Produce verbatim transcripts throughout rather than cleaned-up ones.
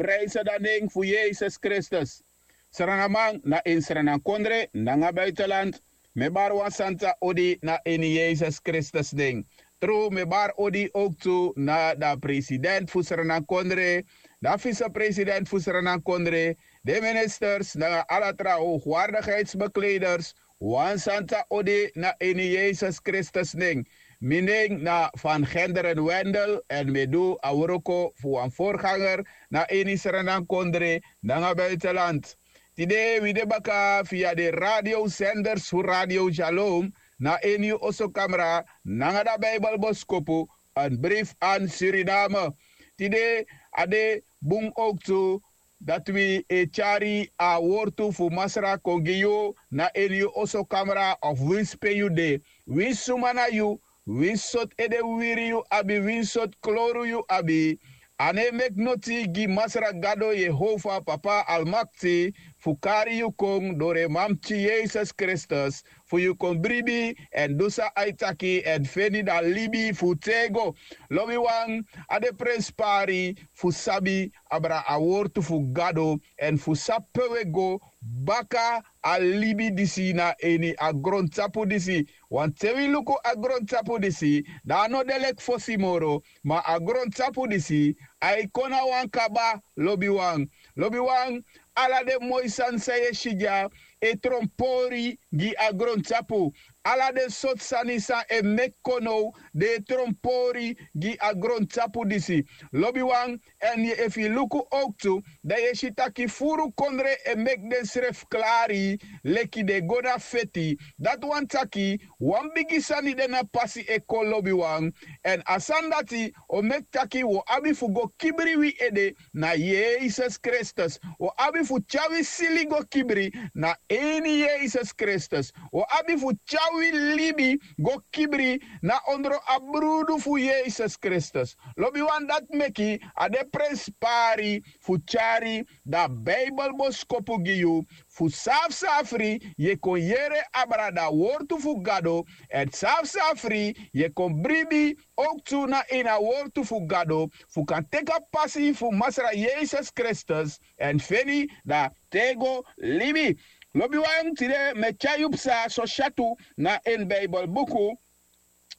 prijse dan nen fu yesus kristus. Sranaman na ini sranankondre nanga buitenland, mi e bari wan santa odi na ini yesus kristus nen. Tru mi e bari odi owktu na dan president fu sranankondre, dan visepresident fu sranankondre, den ministers nanga ala tra howgwardigheidsbekleders, wan santa odi na ini yesus kristus nen. Mi nen na van genderen wendel èn mi e du a wroko fu wan vorganger na ini sranankondre nanga buitenland. Tide wi de baka via den radiosenders fu radio shalom na ini yu osokamra nanga dan bijbelboskopu, an brief an suriname. Tide a de bun owktu dati wi e tyari a wortu fu masra kon gi yu na ini yu osokamra of winsi pe yu de, winsi suma na yu, winsi sortu ede wiri yu abi, winsi sortu kloru yu abi. A no e meki noti gi masra gado yehova papa almakti fu kari yu kon doro en mamti yesus kristus fu yu kon bribi èn du san a e taki èn feni dan libi fu tego. Lobiwan, a de prenspari fu sabi abra a wortu fu gado èn fu sabi pe wi e go baka a libi disi na ini a grontapu disi. Wanten wi luku a grontapu disi, dan a no de leki fosi moro, ma a grontapu disi a e kon na wan kaba. Lobiwan, lobiwan, ala den moi sani san yu e si dya e tronpori gi a grontapu. Ala den sortu sani san e meki kon now den e tronpori gi a grontapu disi. Lobiwan, èn efu yu luku owktu, dan yu e si taki furu kondre e meki densrefi klari leki den e go na feti. Dati wani taki wan bigi sani de na pasi e kon lobiwan. Èn a sani dati o meki taki wi o abi fu go kibri wi ede na yesus kristus. Wi o abi fu tyari wi sili go kibri na ini yesus kristus. Wi o abi fu tyari wi libi go kibri na ondro a brudu fu yesus kristus. Lobiwan, dati meki a de prenspari fu tyari dan bibelboskopu gi yu fu safsafri yu e kon yere abra dan wortu fu gado, èn safsafri yu e kon bribi owktu na ini a wortu fu gado fu kan teki a pasi fu masra yesus kristus èn feni dan tego libi. Lobiwan, tide mi e tyari yu psa sosyatu na ini bibelbuku,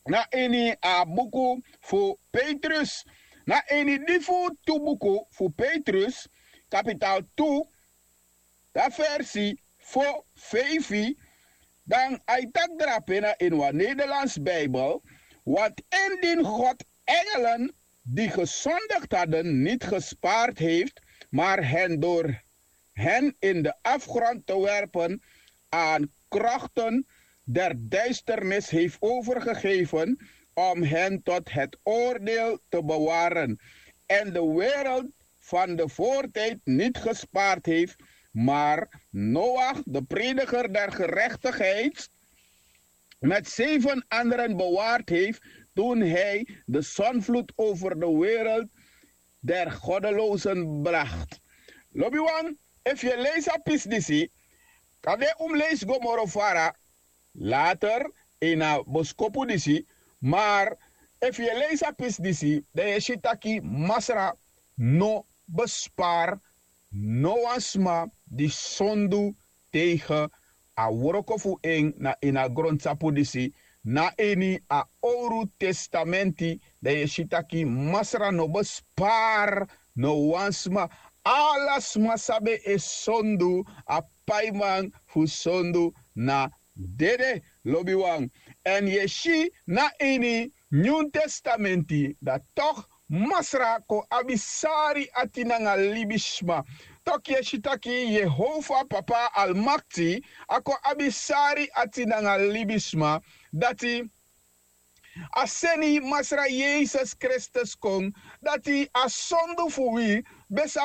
na ini a buku fu petrus, na ini di fu tu buku fu petrus, kapital tu, dan versi fo, feifi. Dan a e taki drape na ini wan nederlands bibel. Want indien god engelen die gezondigd hadden niet gespaard heeft, maar hen door hen in den afgrond te werpen aan krochten der duisternis heeft overgegeven, om hen tot het oordeel te bewaren, en de wereld van de voortijd niet gespaard heeft, maar noach, de prediger der gerechtigheid, met zeven anderen bewaard heeft, toen hij de zondvloed over de wereld der goddelozen bracht. Lobiwan, efu yu e leisi a pisi disi, kande un mus leisi go moro fara later ini a boskopu disi. Mar efu yu e leisi a pisi disi, dan yu e si taki masra no bespari no wan sma di sondu tegen a wroko fu en na ini a grontapu disi. Na ini a owru testamenti, dan yu e si taki masra no bespari no wan sma. Ala sma san ben e sondu, a paiman fu sondu na dede, lobiwan. Èn yu e si na ini nyun testamenti, dati tok' masra kon abi sari ati nanga libisma. Tok' yu e si taki yehova papa almakti a kon abi sari ati nanga libisma. Dati a seni masra yesus kristus kon, dati a sondu fu wi ben sa